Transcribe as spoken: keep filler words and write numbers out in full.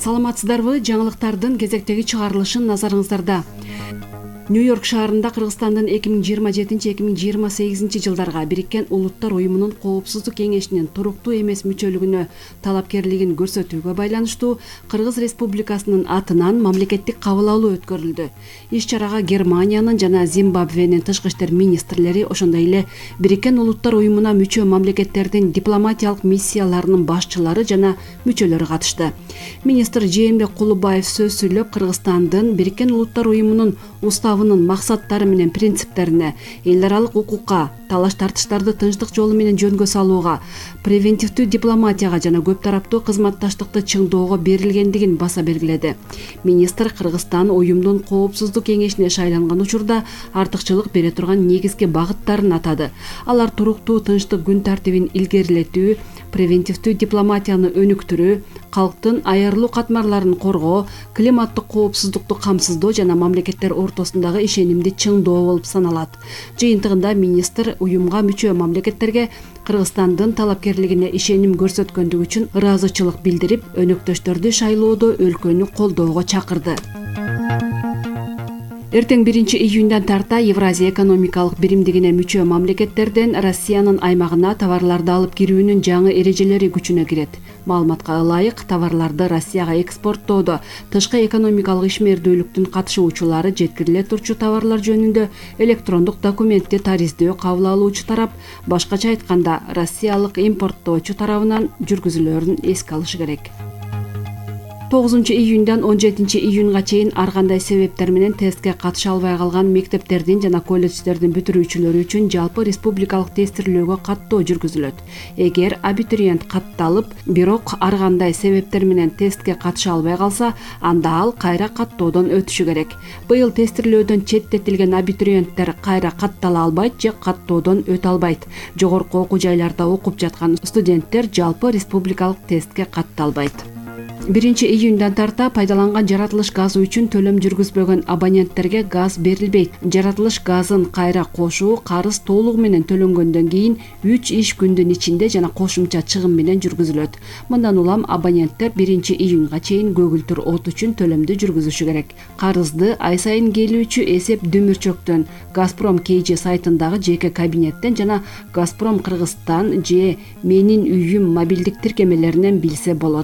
Саламатсыздарбы? Жаңылыктардын кезектеги чыгарылышын назарыңыздарда. Нью-Йорк шаарында Кыргызстандын эки миң жыйырма жетинчи эки миң жыйырма сегизинчи жылдарга Бириккен Улуттар уюмунун Коопсуздук кеңешинин туруктуу эмес мүчөлүгүнө талапкерлигин көрсөтүүгө байланыштуу Кыргыз Республикасынын атынан мамлекеттик кабыл алуу өткөрүлдү. Иш-чарага Германиянын жана Зимбабвенин тышкы иштер министрлери, ошондой эле Бириккен Улуттар уюмуна мүчө мамлекеттердин дипломатиялык миссияларынын башчылары жана мүчөлөрү катышты. Министр Жээнбек Кулубаев сөз сүйлөп, Кыргызстандын Бириккен Улуттар уюмунун уставынын максаттары менен принциптерине, эл аралык укукка, талаш-тартыштарды тынчтык жолу менен жөнгө салууга, превентивдүү дипломатияга жана көп тараптуу кызматташтыкты чыңдоого берилгендигин баса белгиледи. Министр Кыргызстан уюмдун Коопсуздук кеңешине шайланган учурда артыкчылык бере турган негизги багыттарын атады. Алар туруктуу тынчтык күн тартибин илгерилетүү, превентивдүү дипломатияны өнүктүрүү, калктын айырылуу катмарларын коргоо, климаттык коопсуздукту камсыздоо жана мамлекеттер ортосундагы ишенимди чыңдоо болуп саналат. Жыйынтыгында министр уюмга мүчө мамлекеттерге Кыргызстандын талапкерлигине ишеним көрсөткөндүгү үчүн ыраазычылык билдирип, өнөктөштөрдү шайлоодо өлкөнү колдоого чакырды. Эртең биринчи июндан тарта Евразия экономикалык биримдигине мүчө мамлекеттерден Россиянын аймагына товарларды алып кирүүнүн жаңы эрежелери күчүнө кирет. Маалыматка ылайык, товарларды Россияга экспорттоодо тышкы экономикалык ишмердүүлүктүн катышуучулары жеткириле турчу товарлар жөнүндө электрондук документти тариздөө кабыл алуучу тарап, башкача айтканда, россиялык импорттоочу тарабынан жүргүзүлөөрүн эске алышы керек. тогузунчу июндан он жетинчи июнга чейин ар кандай себептер менен тестке катыша албай калган мектептердин жана колледждердин бүтүрүүчүлөрү үчүн жалпы республикалык тестирлөөгө каттоо жүргүзүлөт. Эгер абитуриент катталып, бирок ар кандай себептер менен тестке катыша албай калса, анда ал кайра каттоодон өтүшү керек. Быйыл тестирлөөдөн четтетилген абитуриенттер кайра каттала албайт же каттоодон өтө албайт. Жогорку окуу жайларда окуп жаткан студенттер жалпы республикалык тестке катталбайт. биринчи июндан тарта пайдаланган жаратылыш газы үчүн төлөм жүргүзбөгөн абоненттерге газ берилбейт. Жаратылыш газын кайра кошуу карыз толугу менен төлөнгөндөн кийин үч иш күндүн ичинде жана кошумча чыгым менен жүргүзүлөт. Мындан улам абоненттер биринчи июнга чейин көгүлтүр от үчүн төлөмдү жүргүзүшү керек. Карызды ай сайын келүүчү эсеп дүмүрчөктөн, Газпром кей же сайтындагы жеке кабинеттен жана Газпром Кыргызстан же Менин үйүм мобилдик тиркемелеринен билсе болот.